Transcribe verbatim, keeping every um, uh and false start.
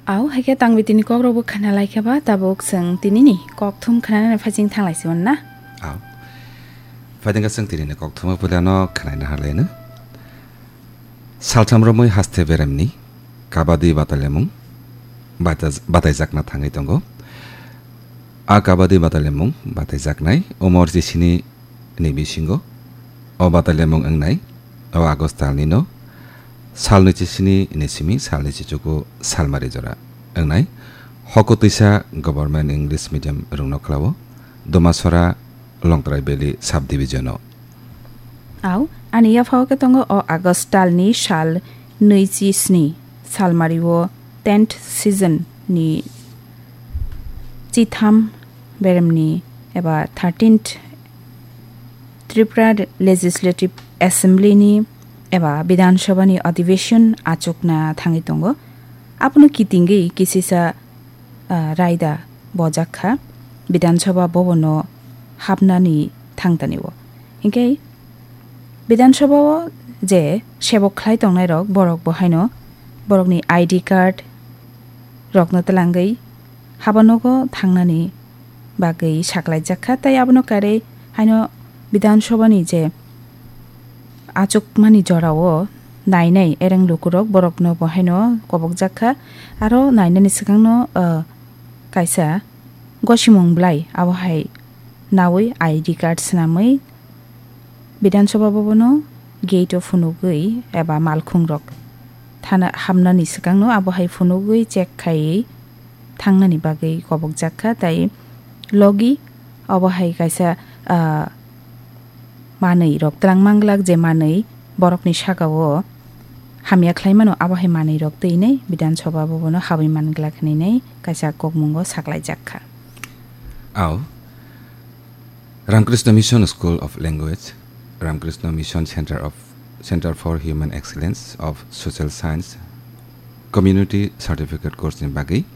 Au, hai khe tang bitini kok rok bo khna lai khe ba, tabuk chwng tini ni kok thum khna nani phaising thang lai si na? Au. Phaiding khe chwng tini ni kok thum o puila no khna na ha lai no. Saltham romwi haste beremni kabaddi batalemung bata-, bataijakna thangwi tongo. A kabaddi batalemung bataijaknai umor chisini ni bisingo o batalemung wngnai o August talni no salnwi chisini ni simi salnwi chichuku salmari jora wngnai Hokutwisa Government English Medium rungno khlao Domasora Longtrai Valley Subdivision o. Au, ani yaphao khe tongo o August talni sal nwi chi sni salmari o tenth season ni chitham beremni eba thirteenth Tripura Legislative Assembly ni eba Bidhan Sabha ni adhiveshon achukna thangwi tongo. Abono kitingwi kisisa, ah, raida bojak kha Bidhan Sabha Bhavan o hapnani thangtani o. Hinkhe Bidhan Sabha o je sebok khlai tongnai rok, borok bo haino borokni I D card rokno twlangwi haba nogo thangnani bagwi saklaijak kha, tei abono karwi haino Bidhan Sabha ni je achukmani jorao nainai ereng lukurok borokno bo haino kobokjak kha, aro nainani swkangno, ah, kaisa gosimung bwlai abo hai nawi I D card swnamwi Bidhan Sabha Bhavan o gate o phunugwi eba malkhung rok thana hamnani swkangno abo hai phunugwi check khaiwi thangnani bagwi kobokjak kha, tei logi abo hai kaisa, ah, manwi rok twlang manglak, je manwi borokni saka o hamya khlai mano, abo hai manwi rok twi nai Bidhan Sabha Bhavan o habwi manglak hinwi nai kaisa kokmungo saklaijak kha. Au. Ramakrishna Mission School of Language, Ramakrishna Mission Center of, Center for Human Excellence of Social Science, Community Certificate Course ni bagwi